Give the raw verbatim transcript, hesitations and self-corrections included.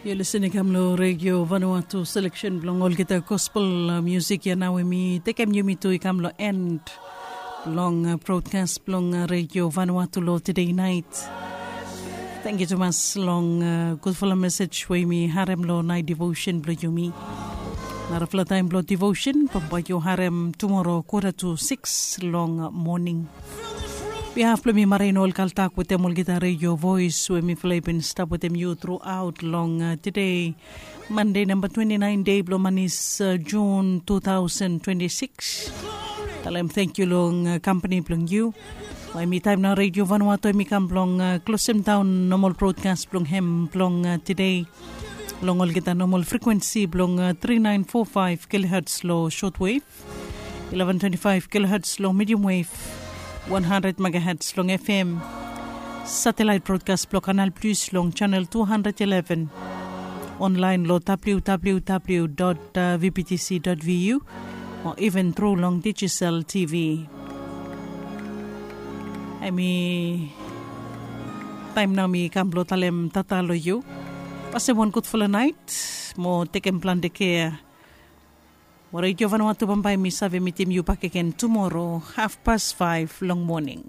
Yu lisin i kam long Radio Vanuatu, selection bilong olgeta gospel uh, music ya nau em i tekem yumi tu i kam long end bilong uh, broadcast bilong uh, Radio Vanuatu long today night. Thank you tumas long uh, gudfala message we mi harem long night devotion bilong yumi. Narafala taim bilong devotion bambae yu harem tomorrow quarter to six long uh, morning. Behalf bilong mi marain ol kaltak wetem olgeta radio voice we mifala i bin stap wetem yu throughout long uh, today Monday number twenty-nine day bilong manis uh, June two thousand twenty-six. Talem thank you long uh, company bilong you. Wai mi time na radio Vanuatu mi kam bilong uh, closing down normal broadcast bilong hem bilong uh, today. Long olgeta normal frequency bilong uh, three nine four five kilohertz lo shortwave, eleven twenty-five kilohertz long medium wave, one hundred megahertz long F M. Satellite broadcast bilong Canal Plus long channel two hundred eleven. Online lo www.vbtc.vu or even through long digital T V. Em i taim nau mi kam bilong talem tata long yu. Pasem wan gudfala nait, mo tekem planti kea. Mo Radio Vanuatu bambae mi save mitim yu bakegen tumoro haf pas faiv long moning.